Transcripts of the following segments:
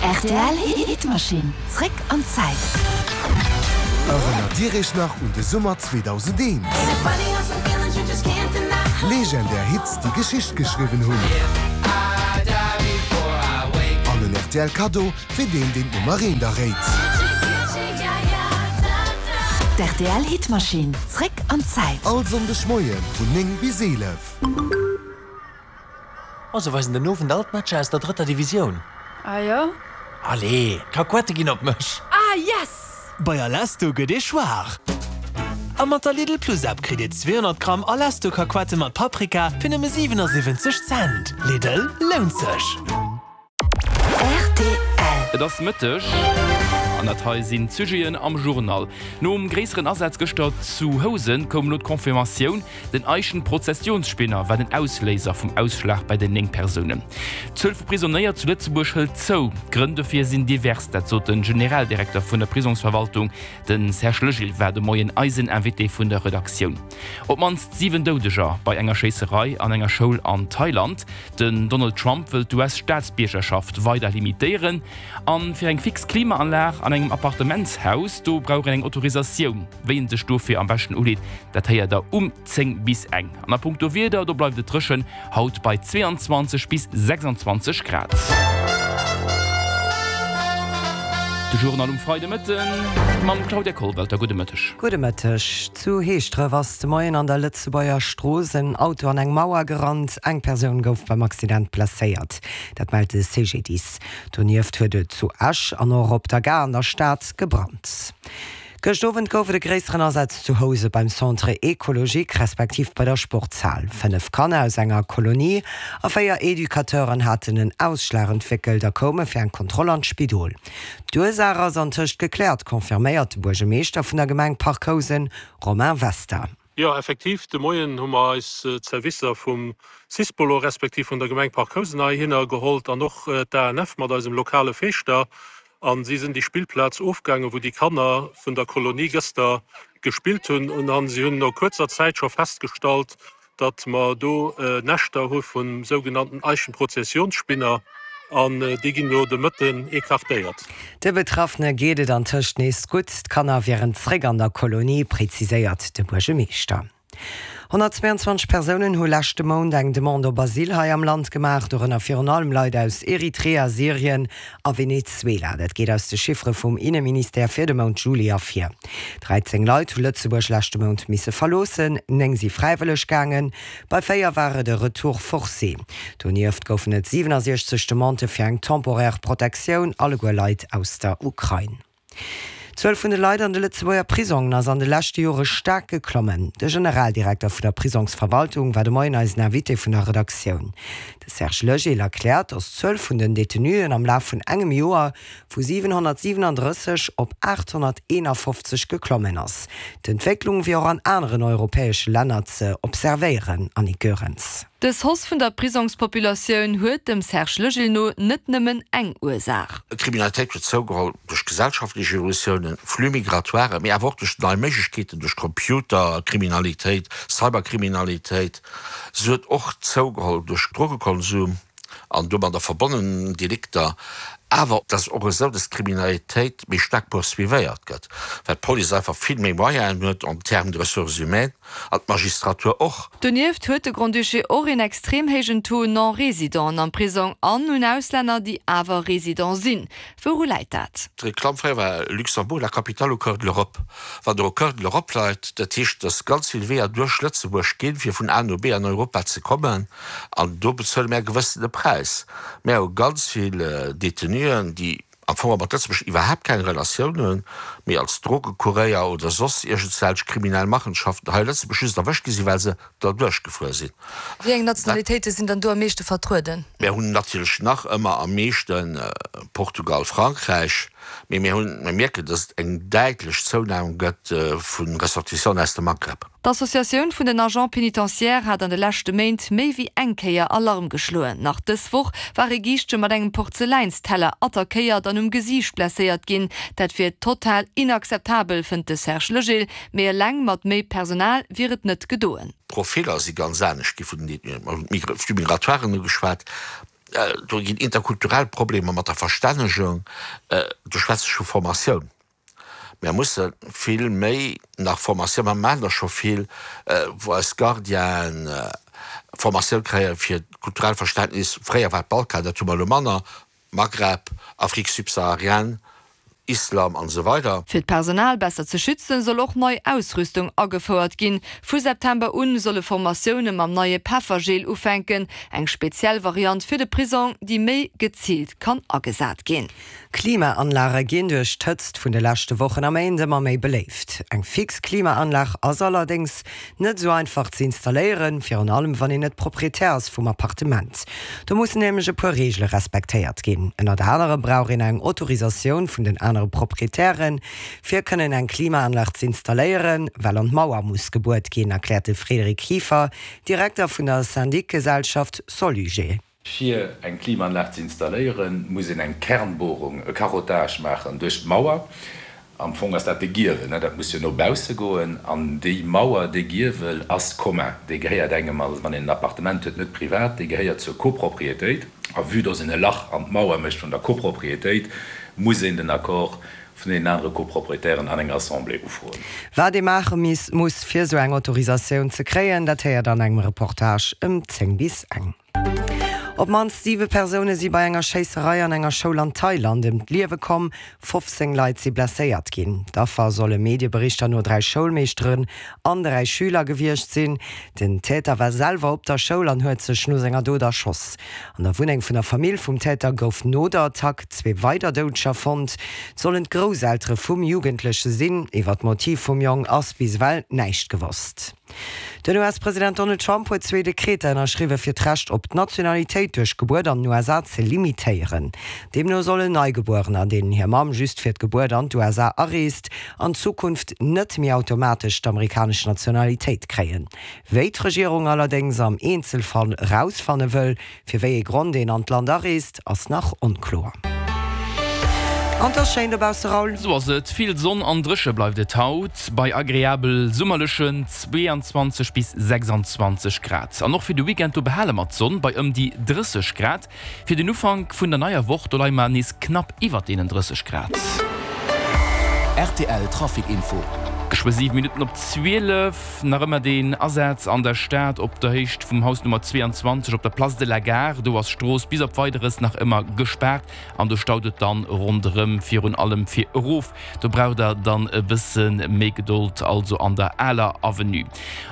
Rtl Hitmaschinn, zréck an d'Zäit. Erënnert Dir Iech nach un de Summer 2001? Legendär Hits, déi Geschicht geschriwwen hunn. An en rtl Kaddo fir deen, deen d'Nummer eent erréit. D'RTL Hitmaschinn, zréck an d'Zäit. All Sonndeg Moie vun 9 bis 11. Oh, se weisen den Owend all d'Matcher aus der drëtter Divisioun. Ah jo? Allez, d'Kakuette ginn op mech! Ah yes! Bei Alesto gëtt ee schwaach! A mat der Lidl Plus App kritt Dir 200 Gramm Alesto Kakuette mat Paprika fir nëmme 77 Cent. Lidl, lount sech! Rtl. Et ass Mëtteg an dat hei sinn d'Sujeten am Journal. Nom gréisseren Asaz gëschter zu Housen koum elo d'Confirmatioun, Den Eichenprozessionsspinner war den Ausléiser vum Ausschlag bei den 9 Persounen. D'Zuel vu Prisonéier zu Lëtzebuerg hëlt zou. D'Grënn dofir sinn divers, dat sot de Generaldirekter vun der Prisongsverwaltung. De Serge Legil war de Moien eisen Invité vun der Redaktioun. Op d'mannst 7 Doudeger bei enger Schéisserei an enger Schoul an Thailand. Den Donald Trump wëllt d'US-Staatsbiergerschaft weider limitéieren. A fir eng fix Klimaanlag an engem Appartementshaus, do brauch een eng Autorisatioun. Wéi een sech dofir am beschten uleet, dat héiert der um 10 bis eng. An a punkto Wieder, do bleift et dréchen, haut bei 22 bis 26 Grad. De Journal um Freidemëtten mam Claudia Kollwelter. Gudde Mëtteg. Gudde Mëtteg. Zu Heeschdref ass de Moien an der Lëtzebuerger Strooss en Auto an eng Mauer gerannt. Eng Persoun gouf beim Accident blesséiert. Dat mellt de CGDIS. Donieft huet et zu Esch an och op der Gare an der Stad gebrannt. Gëscht Owend gouf et e gréisseren Asaz zu Housen beim Centre Ecologique respektiv bei der Sportshal. 5 Kanner aus enger Kolonie a 4 Educateuren haten en Ausschlag entwéckelt a koume fir eng Kontroll an d'Spidol. D'Ursaach ass antëscht gekläert, confirméiert de Buergermeeschter vun der Gemeng Parc Housen, Romain Wester. Jo, effektiv, de Moien hu mer eis d'Servicer vum Sispolo respektiv vun der Gemeng Parc Housen heihinner gehollt an och d'ANF mat eisem lokale Feeschter. A si sinn déi Spillplaz ofgaangen, wou déi Kanner vun der Kolonie gëster gespillt hunn. An si hunn no kuerzer Zäit scho festgestallt, datt mer do Näschter hu vum sougenannten Eichenprozessionsspinner. An déi ginn elo de Mëtten écartéiert. De Betraffene geet et antëscht nees gutt. D'Kanner wieren zréck an der Kolonie, preziséiert de Buergemeeschter. 122 Persounen hu leschte Mount eng Demande op Asyl hei am Land gemaach, dorënner virun allem Leit aus Eritrea, Syrien a Venezuela. Dat geet aus de Chiffere vum Inneministère fir de Mount Juli ervir. 13 Leit hu Lëtzebuerg leschte Mount misse verloossen, 9 si fräiwëlleg gaangen, bei 4 war et e Retour forcé. Donieft goufen et 67 Demandë fir eng temporaire Protektioun, alleguer Leit aus der Ukrain. D'Zuel vun de Leit an de Lëtzebuerger Prisongen ass an de leschte Jore staark geklommen. De Generaldirekter vun der Prisongsverwaltung war de Moien eisen Invité vun der Redaktioun. De Serge Legil erkläert, datt d'Zuel vun den Detenuen am Laf vun engem Joer vu 737 op 851 geklommen ass. D'Entwécklung wier och an aneren europäesche Länner ze observéieren, Annick Goerens. Dës Hausse vun der Prisongspopulatioun huet dem Serge Legil no net nëmmen eng Ursaach. D'Kriminalitéit huet zougeholl duerch gesellschaftlech Evolutiounen, Flux migratoires, mee awer och duerch nei Méiglechkeeten, duerch Computerkriminalitéit, Cyberkriminalitéit. Se huet och zougeholl duerch Drogekonsum an domadder verbonnen Delikter. Awer et ass och esou, dass d'Kriminalitéit méi staark poursuivéiert gëtt, well d'Police einfach vill méi Moyenen huet en termes de ressources humaines. An d'Magistratur och. Donieft huet de Grand-Duché och een extrem héijen Taux Non-Résidenten am Prisong an un Auslänner, déi awer Résident sinn. Wouru läit dat? D'Reklamm fréier war Luxembourg, la capitale au cœur de l'Europe. Wann Der au cœur de l'Europe leit, dat heescht, datt ganz vill Weeër duerch Lëtzebuerg ginn, fir vun A no B an Europa ze kommen. An do bezuele mär e gewëssene Präis. Mär hu ganz vill Détenuen, déi am Fong mat Lëtzebuerg iwwerhaapt keng Relatioun hunn, mee als Drogekuréier oder soss iergendwelch kriminell Machenschaften hei a Lëtzebuerg just erwëscht gi sinn, well se derduerch gefuer sinn. Wéi eng Nationalitéite sinn dann do am meeschte vertrueden? Mär hunn natierlech nach ëmmer am meeschte Portugal, Frankräich, mee mir hunn, mir mierken, datt et eng däitlech Zounam gëtt vu Ressortissanten aus dem Maghreb. D'Associatioun vun den Agents pénitentiaires hat an de leschte Méint méi wéi eng Kéier Alarm geschloen. Nach dës Woch war e Giischtje mat engem Porzeläinsteller attackéiert an um Gesiicht blesséiert ginn. Dat wier total inakzeptabel, fënnt de Serge Legil. Mee eleng mat méi Personal wier et net gedoen. D'Profiller si ganz anescht gi vun den Détenuen. Mer hunn d'Flux migratoiren ugeschwat. Do ginn interkulturell Problemer mat der Verstännegung. Do schwätze ech vu Formatioun. Mär musse vill méi nach Formatioun, mer maachen der scho vill, wou eis Gardienen Formatioun kréie fir d'kulturellt Verständnis. Fréier war et Balkan, dat hu mer elo manner, Maghreb, Afrique subsaharienne, Islam an esou weider. Fir d'Personal besser ze schützen, soll och nei Ausrüstung agefouert ginn. Vu September un solle Formatioune mam neie Peffergel ufänken, eng speziell Variant fir de Prisong, déi méi geziilt kann agesat ginn. Klimaanlage ginn duerch d'Hëtzt vun de leschte Wochen a Méint ëmmer méi beléift. Eng fix Klimaanlag ass allerdéngs net esou einfach ze installéieren, virun allem wann een net Proprietär ass vum Appartement. Do mussen nämlech e puer Reegele respektéiert ginn. Ënnert anerem brauch een eng Autorisatioun vun den anere Proprietären, fir kënnen eng Klimaanlag z'installéieren, well an d'Mauer muss gebuert ginn, erkläert de Frédéric Kieffer, Direkter vun der Syndicgesellschaft Soluger. Fir eng Klimaanlag ze installéieren, muss een eng Kernbohrung, e Carottage maachen duerch d'Mauer. Am Fong ass dat de Giewel, dat muss jo no bausse goen. An déi Mauer, dee Giewel ass commun, dee gehéiert engem, also wann een en Appartement huet, net privat, dee gehéiert zur Copropriétéit. A vue dass een e Lach an d'Mauer mécht vun der Copropriétéit, muss een den Accord vun deenen anere Copropriétairen an enger Assemblée ufroen. Wat ee maache muss, fir esou eng Autorisatioun ze kréien, dat héiert an engem Reportage ëm 10 bis eng. Op d'mannst siwe Persoune si bei enger Schéisserei an enger Schoul an Thailand ëm d'Liewe komm, 15 Leit si blesséiert ginn. D'Affer solle Medieberichter no 3 Schoulmeeschteren an 3 Schüler gewiescht sinn. Den Täter war selwer op der Schoul an huet sech no senger Dot erschoss. An der Wunneng vun der Famill vum Täter gouf no der Attack zwee weider Doudeger fonnt. Et sollen d'Grousseltere vum Jugendleche sinn. Iwwer d'Motiv vum Jong ass bis ewell näischt gewosst. Den US-President Donald Trump huet zwee Dekreter ënnerschriwwe fir d'Recht op d'Nationalitéit duerch Gebuert an den USA ze limitéieren. Deemno sollen Neigebuerener, deenen hir Mamm just fir d'Gebuert an d'USA areest, an Zukunft net méi automatesch d'amerikanesch Nationalitéit kréien. Wéi d'Regierung allerdéngs am Eenzelfall erausfanne wëll, Fir wéi ee Grond een an d'Land areest, ass nach onkloer. An 't ass schéin dobausse, Raoul. Sou ass et, vill Sonn an dréche bleift et haut, bei agreabel summerlechen 22 bis 26 Grad. An och fir de Weekend, do behale mer d'Sonn bei ëm déi 30 Grad. Fir den Ufank vun der neier Woch, do leie mer nees knapp iwwert deenen 30 Grad. Rtl Trafic Info. Geschwë 7 Minutten op 12. Nach ëmmer deen Asaz an der Stad op der Héicht vum Haus Nummer 22 op der Place de la Gare. Do ass d'Strooss bis op Weideres nach ëmmer gespaart an do staut et dann ronderëm, virun allem fir erof. Do braucht der dann e bësse méi Gedold, also an der Aler Avenue.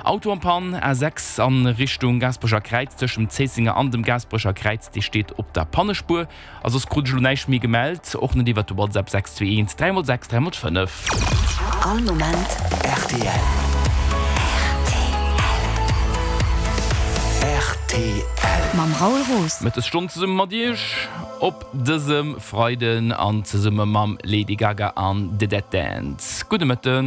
Auto en panne, A6 an Richtung Gaasperecher Kräiz tëscht dem Zéissenger an dem Gaasperecher Kräiz, dee steet op der Pannespuer. A soss krut ech elo näischt méi gemellt, och net iwwert de WhatsApp 621 3 x 6 3 x 5. All Moment rtl. Rtl. Mam Raoul Roos. Mëttesstonn zesumme mat Iech op dësem Freiden an zesumme mam Lady Gaga an The Dead Dance. Gudde Mëtten.